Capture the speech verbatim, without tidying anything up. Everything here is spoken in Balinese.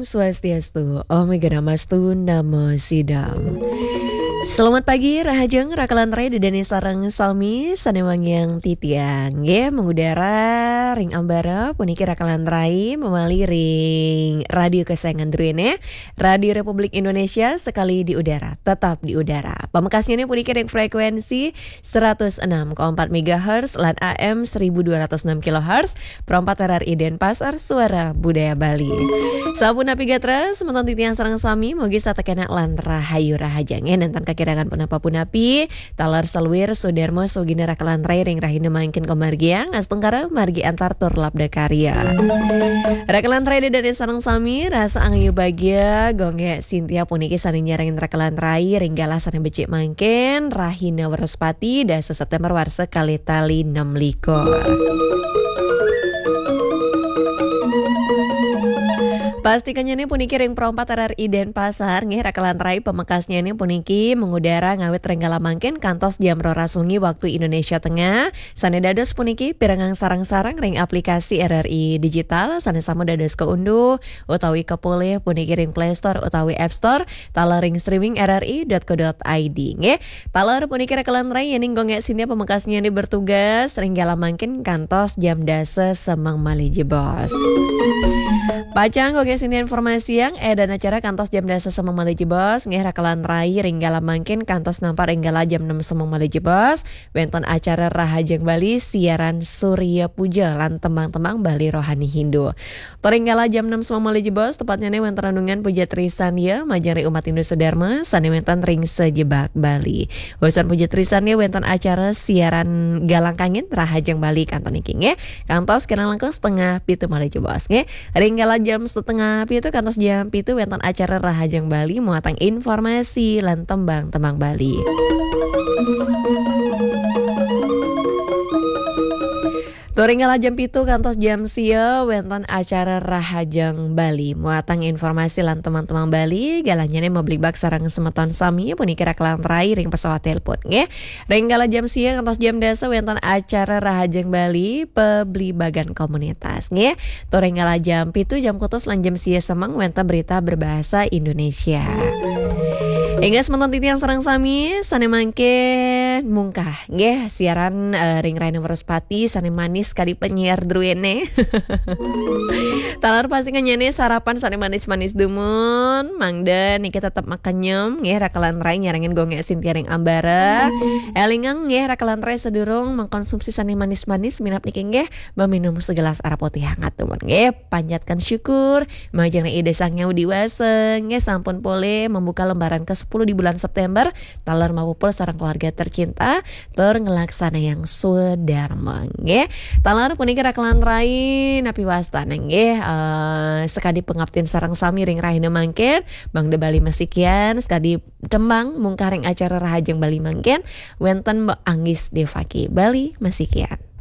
Swastiastu, Om Awighnamastu Namo Sidam. Selamat pagi, rahajeng, raka lan rai, Ida dané sareng sami sané wangiang titiang. Nggih, mengudara ring ambara puniki raka lan rai, memali ring radio kesayangan druéné, Radio Republik Indonesia, sekali di udara, tetap di udara. Pamekasnyané puniki ring frekuensi seratus enam koma empat megahertz lan A M seribu dua ratus enam kilohertz, Pro empat R R I Denpasar, Suara Budaya Bali. Sapunapi gatra, semeton titiang sareng sami, mugi setata kénak lan rahayu rahajeng. Nénten kakirangan punapa-punapi, taler saluir, swadarma, swaginar raka lan rai ring rahina mangkin kamargiang, astungkara margi antar tur labda karya. Raka lan rai Ida dané sareng sami, rasa angayu bagia, Gung Gék Sintia puniki sané nyarengin raka lan rai ring galah sané becik mangkin, rahina Wrespati, dasa Séptémber warsa kalih tali nem likur. Pastikannyané puniki ring Pro empat R R I Denpasar, nggih, raka lan rai, pamekasnyané puniki mengudara ngawit ring galah mangkin kantos jam roras wengi waktu Indonesia Tengah. Sané dados puniki pirengang sareng-sareng ring aplikasi R R I Digital, sané sampun dados kaunduh utawi kapolih puniki ring Play Store utawi App Store, taler ring streaming R R I dot co dot I D, nggih. Taler puniki raka lan rai, yéning Gung Gék Sintia pamekasnyané bertugas ring galah mangkin kantos jam dasa semeng malih jebos. Pacang Gung Gék Sintia informasiang, édan acara kantos jam dasa semeng malih jebos, nggih, raka lan rai, ring galah mangkin kantos nampar ring galah jam nem semeng malih jebos, wénten acara Rahajeng Bali siaran Surya Puja lan tembang-tembang Bali rohani Hindu. Tur ring galah jam nem semeng malih jebos, tepatnyané wénten renungan puja trisandia majeng ring umat Hindu Sudarma sané wénten ring sajebag Bali. Wusan puja trisandia wénten acara siaran Galang Kangin Rahajeng Bali kantun niki, nggih. Kantos kirang langkung setengah pitu malih jebos, nggih. Ring galah jam setengah pitu kantos jam pitu wénten acara Rahajeng Bali muatan informasi lan tembang-tembang Bali. Tur ring galah jam pitu kantos jam sia wénten acara Rahajeng Bali muatan informasi lan tembang-tembang Bali, galahnyané mabligbagan sareng semeton sami puniki raka lan rai ring pesawat telepon, nggih. Ring galah jam sia kantos jam dasa wénten acara Rahajeng Bali pabligbagan komunitas, nggih. Tur ring galah jam pitu, jam kutus lan jam sia semeng wénten berita berbahasa Indonesia. Inggih semeton titiang sareng sami, sané mangkin mungkah, nggih, siaran, eh, ring rahina Wrespati sané manis kadi penyiar druéné. Taler pastikannyané sarapan sané manis-manis dumun, mangda niki tetep makenyem, nggih, raka lan rai nyarengin Gung Gék Sintia ring ambara. Élingang, nggih, raka lan rai, sadurung mengkonsumsi sané manis-manis, minab niki, nggih, meminum segelas arak putih hangat dumun, nggih. Panjatkan syukur majeng ring Ida Sang Hyang Widhi Wasa, nggih, sampun polih membuka lembaran kesepuluh di bulan September, taler mapupul sareng keluarga tercinta, tur nglaksanayang swadarma, nggih. Taler puniki raka lan rai, napi wastané, nggih, eh, sakadi pangaptin sareng sami ring rahina mangkin, mangda Bali masikian, sakadi tembang mungkah ring acara Rahajeng Bali mangkin, wénten Mbok Anggis Devaki, Bali masikian.